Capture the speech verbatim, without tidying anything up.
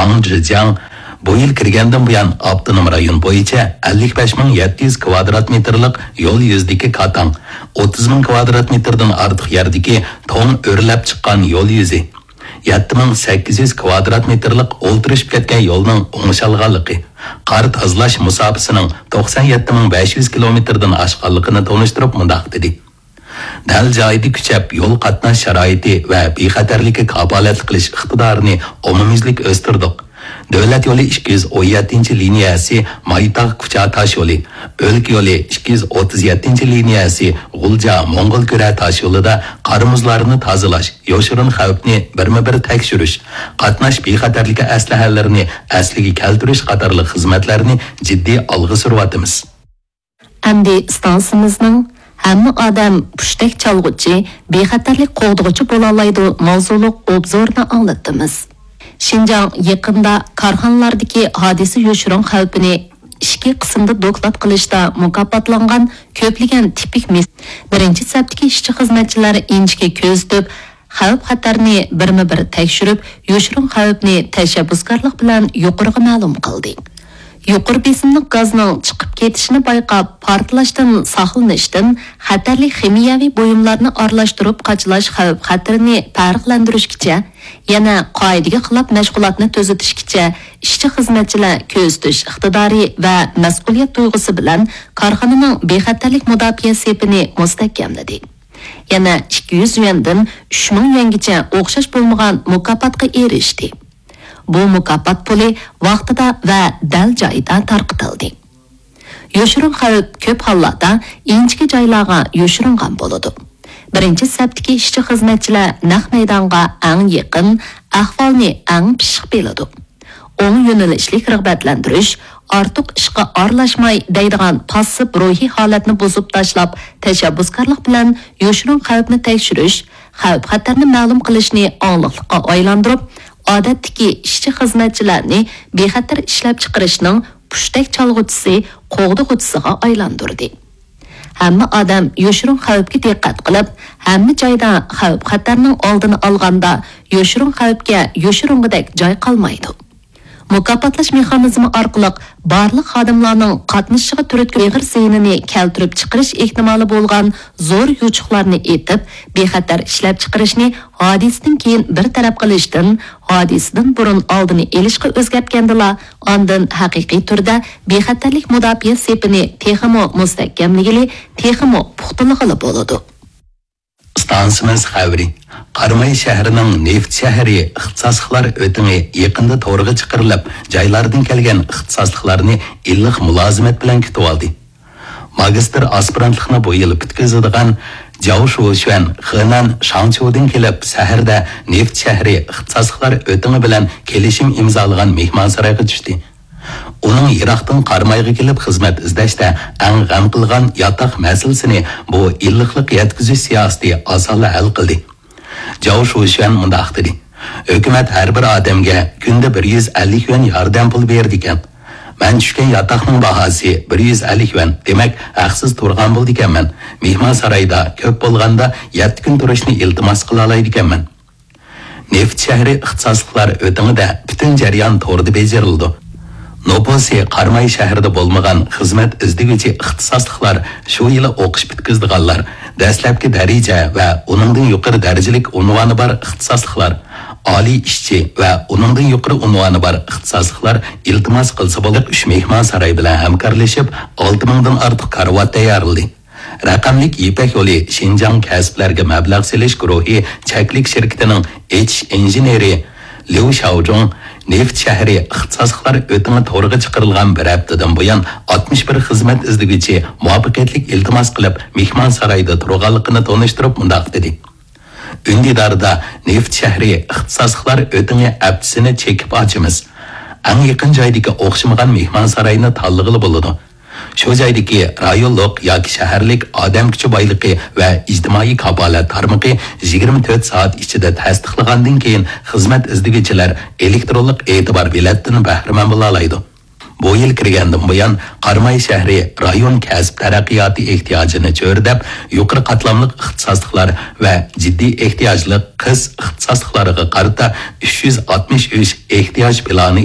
ۋاڭ جىجياڭ بۇ يىل كىرگەندىن بۇيان، ئاپتونوم رايون بويىچە ئەللىك بەش مىڭ يەتتە يۈز كۋادرات مېتىرلىق يول يۈزىدىكى كاتاڭ، ئوتتۇز مىڭ كۋادرات مېتىردىن ئارتۇق يەردىكى توڭ ئۆرلەپ چىققان يول يۈزى، يەتتە مىڭ سەككىز يۈز كۋادرات مېتىرلىق ئولتۇرۇشۇپ كەتكەن يولنىڭ ئوڭشالغانلىقى، قار تازىلاش مۇساپىسىنىڭ توقسان يەتتە مىڭ بەش يۈز كىلومېتىردىن ئاشقانلىقىنى تونۇشتۇرۇپ مۇنداق دېدى: دەل جايىدا كۈچەپ يول قاتناش شارائىتى ۋە بىخەتەرلىككە كاپالەتلىك قىلىش ئىقتىدارىنى ئومۇميۈزلۈك ئۆستۈردۇق. دۆلەت يولى ئىككى يۈز ئون يەتتىنچى لىنىيەسى مايتاغ كۇچا تاش يولى، ئۆلكە يولى ئىككى يۈز ئوتتۇز يەتتىنچى لىنىيەسى غۇلجا موڭغۇل كۈرە تاش يولىدا قار مۇزلارنى تازىلاش، يوشۇرۇن خەۋپنى بىرمۇ بىر تەكشۈرۈش، قاتناش بىخەتەرلىكى ئەسلىھەلىرىنى ئەسلىگە كەلتۈرۈش قاتارلىق خىزمەتلەرنى جىددىي ئالغا سۈرۈۋاتىمىز. ئەمدى ئىستانسىمىزنىڭ «ھەممە ئادەم پۇشتەك چالغۇچى، بىخەتەرلىك قوغدىغۇچى بولالايدۇ» ماۋزۇلۇق ئوبزورىنى ئاڭلىتىمىز. شىنجاڭ يېقىندا كارخانىلاردىكى ھادىسە يوشۇرۇن خەۋپىنى ئىچكى قىسىمدا دوكلات قىلىشتا مۇكاپاتلانغان كۆپلىگەن تىپىك مىس-، بىرىنچى سەپتىكى ئىشچى-خىزمەتچىلەر ئىنچىكە كۆزىتىپ، خەۋپ-خەتەرنى بىرمۇ بىر تەكشۈرۈپ، يوشۇرۇن خەۋپنى تەشەببۇسكارلىق بىلەن يۇقىرىغا مەلۇم قىلدى. يۇقىرى بېسىملىق گازنىڭ چىقىپ كېتىشىنى بايقاپ، پارتلاشتىن ساقلىنىشتىن خەتەرلىك خىمىيەۋى بۇيۇملارنى ئارىلاشتۇرۇپ قاچىلاش خەۋپ-خەتىرىنى پەرقلەندۈرۈشكىچە، يەنە قائىدىگە خىلاپ مەشغۇلاتنى تۈزىتىشكىچە، ئىشچى-خىزمەتچىلەر كۆزىتىش ئىقتىدارى ۋە مەسئۇلىيەت تۇيغۇسى بىلەن كارخانىنىڭ بىخەتەرلىك مۇداپىئە سېپىنى مۇستەھكەملىدى. يەنە ئىككى يۈز يۈەندىن ئۈچ مىڭ يۈەنگىچە ئوخشاش بولمىغان مۇكاپاتقا ئېرىشتى. بۇ مۇكاپات پۇلى ۋاقتىدا ۋە دەل جايىدا تارقىتىلدى. يوشۇرۇن خەۋپ كۆپ ھاللاردا ئىنچىكە جايلارغا يوشۇرۇنغان بولىدۇ. بىرىنچى سەپتىكى ئىشچى-خىزمەتچىلەر نەق مەيدانغا ئەڭ يېقىن، ئەھۋالنى ئەڭ پىششىق بىلىدۇ. ئوڭ يۆنىلىشلىك رىغبەتلەندۈرۈش، «ئارتۇق ئىشقا ئارىلاشماي» دەيدىغان پاسسىپ روھىي ھالەتنى بۇزۇپ تاشلاپ، تەشەببۇسكارلىق بىلەن يوشۇرۇن خەۋپنى تەكشۈرۈش، خەۋپ-خەتەرنى مەلۇم قىلىشنى ئاڭلىقلىققا ئايلاندۇرۇپ، ئادەتتىكى ئىشچى-خىزمەتچىلەرنى بىخەتەر ئىشلەپچىقىرىشنىڭ پۇشتەك چالغۇچىسى، قوغدىغۇچىسىغا ئايلاندۇردى. ھەممە ئادەم يوشۇرۇن خەۋپكە دىققەت قىلىپ، ھەممە جايدا خەۋپ-خەتەرنىڭ ئالدىنى ئالغاندا، يوشۇرۇن خەۋپكە يوشۇرۇنغۇدەك جاي قالمايدۇ. مۇكاپاتلاش مېخانىزمى ئارقىلىق بارلىق خادىملارنىڭ قاتنىشىشىغا تۈرتكە ئېغىر زىيىنىنى كەلتۈرۈپ چىقىرىش ئېھتىمالى بولغان زور يوچۇقلارنى ئېتىپ، بىخەتەر ئىشلەپچىقىرىشنى ھادىسىدىن كېيىن بىر تەرەپ قىلىشتىن، ھادىسىدىن بۇرۇن ئالدىنى ئېلىشقا ئۆزگەرتكەندىلا، ئاندىن ھەقىقىي تۈردە بىخەتەرلىك مۇداپىئە سېپىنى تېخىمۇ مۇستەھكەملىگىلى، تېخىمۇ پۇختىلىغىلى بولىدۇ. ئىستانسىمىز خەۋىرى. قاراماي شەھىرىنىڭ نېفىت شەھىرى ئىختىساسلىقلار ئۆتىڭى يېقىندا تورغا چىقىرىلىپ، جايلاردىن كەلگەن ئىختىساسلىقلارنى ئىللىق مۇلازىمەت بىلەن كۈتۈۋالدى. ماگىستىر ئاسپىرانتلىقنى بۇ يىل پۈتكۈزىدىغان جاۋ شۇشۈەن خېنەن شاڭچيۇدىن كېلىپ، شەھەردە نېفىت شەھىرى ئىختىساسلىقلار ئۆتىڭى بىلەن كېلىشىم ئىمزالىغان مېھمانسارايغا چۈشتى. ئۇنىڭ يىراقتىن قارامايغا كېلىپ خىزمەت ئىزدەشتە ئەڭ غەم قىلغان ياتاق مەسىلىسىنى بۇ ئىللىقلىق يەتكۈزۈش سىياسىتى ئاسانلا ھەل قىلدى. جاۋ شۇشۈەن مۇنداق دېدى: «ھۆكۈمەت ھەر بىر ئادەمگە كۈندە بىر يۈز ئەللىك يۈەن ياردەم پۇلى بېرىدىكەن. مەن چۈشكەن ياتاقنىڭ باھاسى بىر يۈز ئەللىك يۈەن، دېمەك، ھەقسىز تۇرغان بولىدىكەنمەن. مېھمانسارايدا كۆپ بولغاندا يەتتە كۈن تۇرۇشنى ئىلتىماس قىلالايدىكەنمەن.» نېفىت شەھىرى ئىختىساسلىقلار ئۆتىڭىدە پۈتۈن جەريان توردا بېجىرىلىدۇ. نوپۇسى قاراماي شەھىرىدە بولمىغان خىزمەت ئىزدىگۈچى ئىختىساسلىقلار، شۇ يىلى ئوقۇش پۈتكۈزىدىغانلار، دەسلەپكى دەرىجە ۋە ئۇنىڭدىن يۇقىرى دەرىجىلىك ئۇنۋانى بار ئىختىساسلىقلار، ئالىي ئىشچى ۋە ئۇنىڭدىن يۇقىرى ئۇنۋانى بار ئىختىساسلىقلار ئىلتىماس قىلسا بولىدۇ. ئۈچ مېھمانساراي بىلەن ھەمكارلىشىپ، ئالتە مىڭدىن ئارتۇق كارىۋات تەييارلىدى. رەقەملىك يىپەك يولى شىنجاڭ كەسىپلەرگە مەبلەغ سېلىش گۇرۇھى چەكلىك شىركىتىنىڭ ئېچىش ئىنژېنېرى ليۇ شياۋجۇڭ نېفىت شەھىرى ئىختىساسلىقلار ئۆتىڭى تورىغا چىقىرىلغان بىر ھەپتىدىن بۇيان ئاتمىش بىر خىزمەت ئىزدىگۈچى مۇۋەپپەقىيەتلىك ئىلتىماس قىلىپ، مېھمانسارايدا تۇرغانلىقىنى تونۇشتۇرۇپ مۇنداق دېدى: ئۈندىداردا نېفىت شەھىرى ئىختىساسلىقلار ئۆتىڭى ھەپتىسىنى چېكىپ ئاچىمىز. ئەڭ يېقىن جايدىكى ئوخشىمىغان مېھمانساراينى تاللىغىلى بولىدۇ. شۇ جايدىكى رايونلۇق ياكى شەھەرلىك ئادەم كۈچى بايلىقى ۋە ئىجتىمائىي كاپالەت تارمىقى يىگىرمە تۆت سائەت ئىچىدە تەستىقلىغاندىن كېيىن، خىزمەت ئىزدىگۈچىلەر ئېلېكترونلۇق ئېتىبار بېلەتتىن بەھرىمەن بولالايدۇ. بۇ يىل كىرگەندىن بۇيان، قاراماي شەھىرى رايون كەسىپ تەرەققىياتى ئېھتىياجىنى چۆرىدەپ، يۇقىرى قاتلاملىق ئىختىساسلىقلار ۋە جىددىي ئېھتىياجلىق قىس ئىختىساسلىقلارغا قارىتا ئۈچ يۈز ئاتمىش ئۈچ ئېھتىياج پىلانى